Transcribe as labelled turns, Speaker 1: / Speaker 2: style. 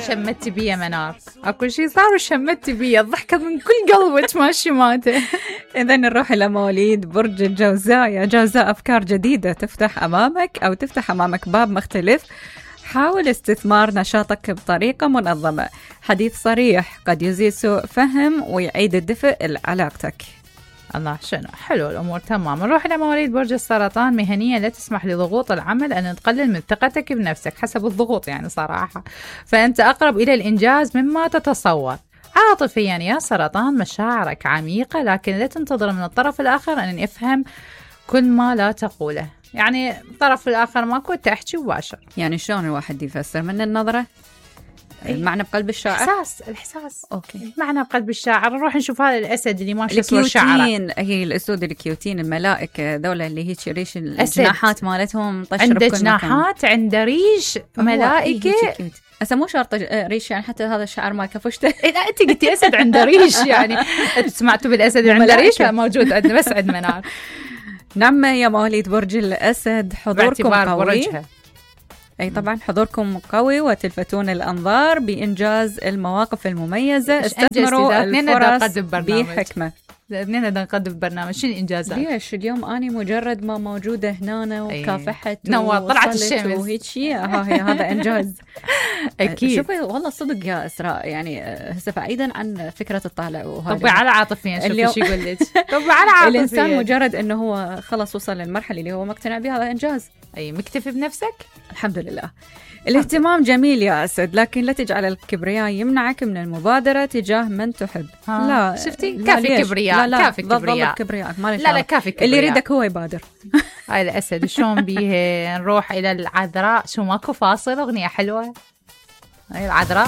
Speaker 1: شمتي بيا منار، اكو شيء صار وشمتي بيا، الضحكة من كل قلبك ماشي ماته.
Speaker 2: إذا نروح إلى مواليد برج الجوزاء. يا جوزاء، أفكار جديدة تفتح أمامك أو تفتح أمامك باب مختلف. حاول استثمار نشاطك بطريقة منظمة. حديث صريح قد يزيد سوء فهم ويعيد الدفء لعلاقتك.
Speaker 1: الله شنو حلو الأمور تمام. نروح إلى مواليد برج السرطان. مهنية لا تسمح لضغوط العمل أن تقلل من ثقتك بنفسك حسب الضغوط يعني صراحة، فأنت أقرب إلى الإنجاز مما تتصور. عاطفيا يا سرطان، مشاعرك عميقة لكن لا تنتظر من الطرف الآخر أن يفهم كل ما لا تقوله، يعني الطرف الآخر ما كنت أحكي مباشر.
Speaker 2: يعني شلون الواحد يفسر من النظرة؟ المعنى بقلب الشاعر،
Speaker 1: الإحساس.
Speaker 2: أوكي،
Speaker 1: المعنى بقلب الشاعر. نروح نشوف هذا الأسد اللي ماشي صور شعره.
Speaker 2: هي الأسود الكيوتين الملائكة ذولا اللي هيك ريش الجناحات مالتهم طشر
Speaker 1: عنده جناحات، عنده ريش ملائكة.
Speaker 2: هسه مو شرط ريش، يعني حتى هذا الشعر ما كفشته.
Speaker 1: لا أنت قلتي أسد عنده ريش، يعني سمعتوا بالأسد عنده ريش؟ لا موجود عندنا بس عند منار.
Speaker 2: نعم يا مواليد برج الأسد، حضوركم قوي. أي طبعا حضوركم قوي وتلفتون الأنظار بإنجاز المواقف المميزة. استثمروا الفرص بحكمة.
Speaker 1: اثنين بدنا نقدم برنامج. شنو الإنجازات؟
Speaker 2: ليش اليوم أنا مجرد ما موجودة هنا وكافحت
Speaker 1: طلعت الشمس
Speaker 2: وهيك شيء، هذا إنجاز.
Speaker 1: أكيد.
Speaker 2: شوفي والله صدق يا إسراء، يعني هسه بعيدا عن فكرة الطالع وهذا.
Speaker 1: طبي على عاطفيا، شوفي شو يقول لك. طبي على عاطفيا.
Speaker 2: الإنسان مجرد إنه هو خلص وصل للمرحلة اللي هو مقتنع بها، هذا إنجاز.
Speaker 1: أي مكتفي بنفسك؟
Speaker 2: الحمد لله. الاهتمام جميل يا أسد، لكن لا تجعل الكبرياء يمنعك من المبادرة تجاه من تحب. لا
Speaker 1: شفتي، كافي كبرياء.
Speaker 2: لا
Speaker 1: كافي كبرياء.
Speaker 2: لا
Speaker 1: كافي كبرياء.
Speaker 2: اللي يريدك هو يبادر.
Speaker 1: هاي الأسد شلون بيه. نروح إلى العذراء. شو ماكو فاصل؟ أغنية حلوة هاي العذراء.